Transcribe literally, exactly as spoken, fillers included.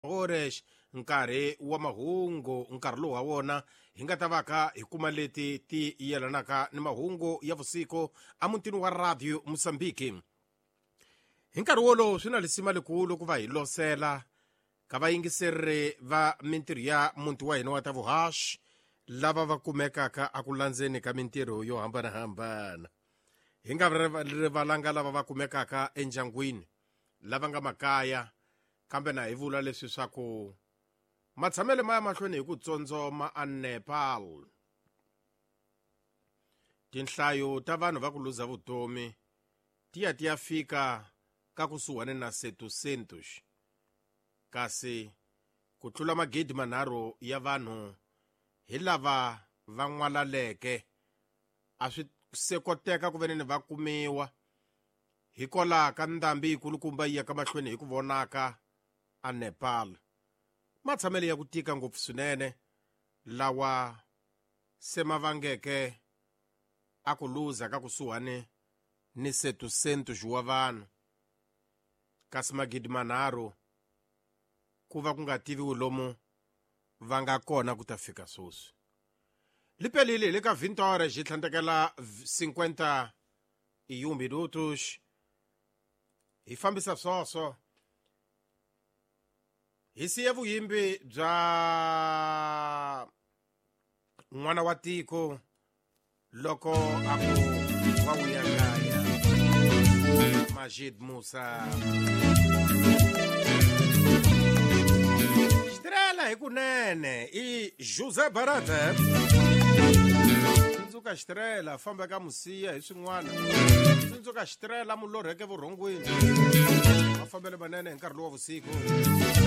Horas nkarhi wa mahungu nkarhi lowu ha wona hi nga ta va ka hi kuma leti ti yelanaka ni mahungu ya vusiku emutini wa Radio Mozambique. Hi nkarhi wolowo swi na lisima likulu ku va hi losela ka vayingiseri va mintirho ya muti wa hina wa ta vuhaxi lava va kumekaka aku landzeni ka mintirho yo hambanahambana. Hi nga rivalanga lava va kumekaka endyangwini, lava nga makaya, kambe na hi vula leswi swa ku matshamelo ma ya mahlweni hi ku tsondzoma a Nepal. Tinhlayo ta vanhu va ku luza vutomi ti ya ti ya fika ka kusuhani na setecentos, kasi ku tlula magidi manharhu ya vanhu hi lava va n'walaleke a swi se koteka ku veneni va kumiwa hikwalaho ka ndhambi yikulukumba yi ya ka mahlweni hi ku vonaka a Nepal. Matshamelo ya ku tika ngopfu swinene lawa se ma vangeke a ku luza ka kusuhani ni setecentos wa vanhu, kasi magidi manharhu ku va ku nga tiviwi lomu va nga kona ku ta fika sweswi. Lipelile hi le ka vinte horas hi tlhandlekela cinquenta e um minutos. Hi fambisa swoswo hi siya vuyimbi bya n'wana wa tiko loko a ku wa vuya kaya Majid Musa. Xitirela hi kunene i José Barata. Tsundzuka xitirela famba ka musiya hi swin'wana. Tsundzuka xitirela mulorheke vurhongwini. Mafambelo manene hi nkarhi lowu wa vusiku.